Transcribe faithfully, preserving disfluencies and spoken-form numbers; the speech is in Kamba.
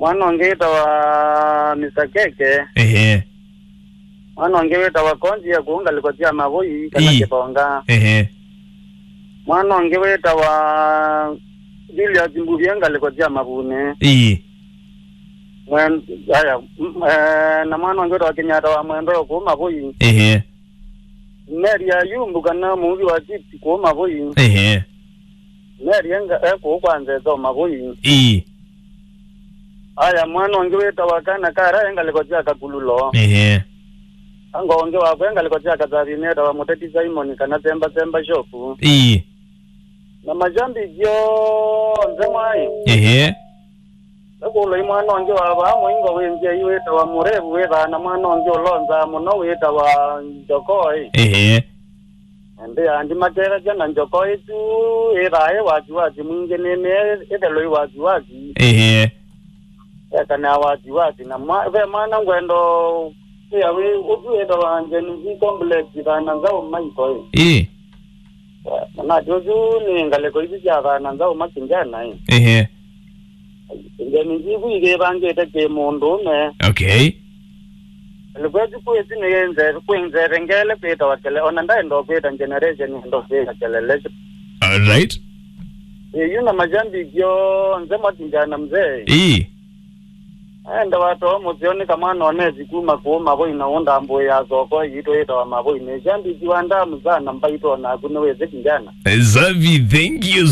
Mwana ũngĩ wĩtawa Mister Keke. Ehe. Mwana ũngĩ wĩtawa Konzi ya kũu ngalĩko sya Mavũi kana Ii. Kĩthonga. Ehe. Mwana ũngĩ wĩtawa Julius Mbuvia ngalĩko sya Mavunĩ. Ii. Mwen-, aya, m-, eh, na mwana ũngĩ wĩtawa Kenyatta wa Mwendo kũu Mavũi. Ehe. Mary Ayumbu kana mũuvi wa chips kũu Mavũi. Ehe. Mary enga-, e kũu kwa Nzeto Mavũi. Ii. Aya, mwana ũngĩ wĩtawa Kana Kara e ngalĩko sya Kakululo. Ehe. Ango ũngĩ wakwa e ngalĩko sya Kathathini etawa Mũteti Simon kana Semba Semba Shop. Ii. Na mashabiki onthe mwaĩ. Ehe. Ekũloi mwana ũngĩ wa vaa mũingo wĩ nzĩa ii wĩtawa Mũrevu wĩthaa na mwana ũngĩ ũlonzaa mũno wĩtawa Njokoi. Ehe. Ĩndĩ andi makethasya na Njokoi tu ĩthaa ĩ wasiwasi mwingĩ nĩnĩ ĩtheloi wasiwasi. Ehe. Ekanaa wasiwasi na mwa-, ve mwana ngwendo kwĩa wĩ ũsu wĩtawa Gen Z complex thana nzaũ maikoĩ. Ĩ. Manati ũsu nĩ ngalĩko isu sya thana nzaũ makĩnjana ĩ. Ehe. Ngenyi njivu ithĩvangĩte kĩ mũndũũme. Okay. Ngalĩko ĩsu kwĩsi nĩ nze-, kwĩ nzeve ngele kwĩtawa kele, ona ndaenda kwĩta generation ndo kwĩta kelele. All right. Ĩyu na mashabiki onthe matinjana mzee. Ii. Aenda watoa mũseo nĩ kamwana onesi kuma kũũ Mavũi na ũndambũĩa thoko yitũ ĩtawa Mavũi. Nĩ shabiki wa ndamu sana mbaitũ onaku nĩwĩsĩ kijana. Zavi, thank you